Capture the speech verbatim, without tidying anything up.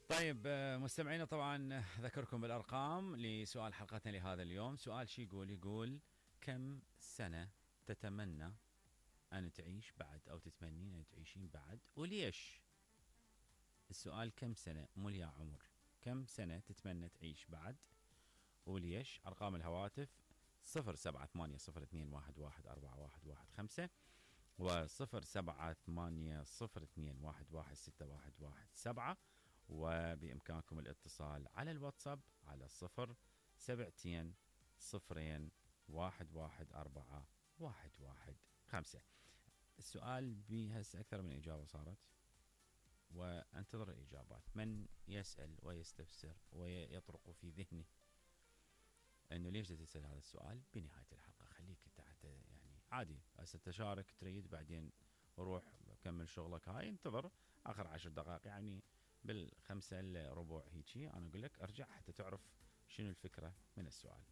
طيب آه، مستمعينا طبعا ذكركم بالارقام لسؤال حلقتنا لهذا اليوم. سؤال شي يقول يقول كم سنة تتمنى ان تعيش بعد او تتمنين ان تعيشين بعد وليش؟ السؤال كم سنة مو يا عمر، كم سنة تتمنى تعيش بعد وليش؟ ارقام الهواتف صفر سبعة ثمانية صفر اثنين واحد واحد أربعة واحد واحد خمسة وصفر سبعة ثمانية صفر اثنين واحد واحد ستة واحد واحد سبعة، وبإمكانكم الاتصال على الواتساب على صفر سبعتين صفرين واحد واحد أربعة واحد واحد خمسة. السؤال بهسه أكثر من إجابة صارت وانتظر الإجابات. من يسأل ويستفسر ويطرق في ذهنه انه ليش تسأل هذا السؤال بنهاية الحلقة، خليك تحت يعني عادي هسه تشارك تريد بعدين روح كمل شغلك، هاي انتظر اخر عشر دقائق يعني بالخمسة الا ربع هيجي انا اقول لك ارجع حتى تعرف شنو الفكرة من السؤال.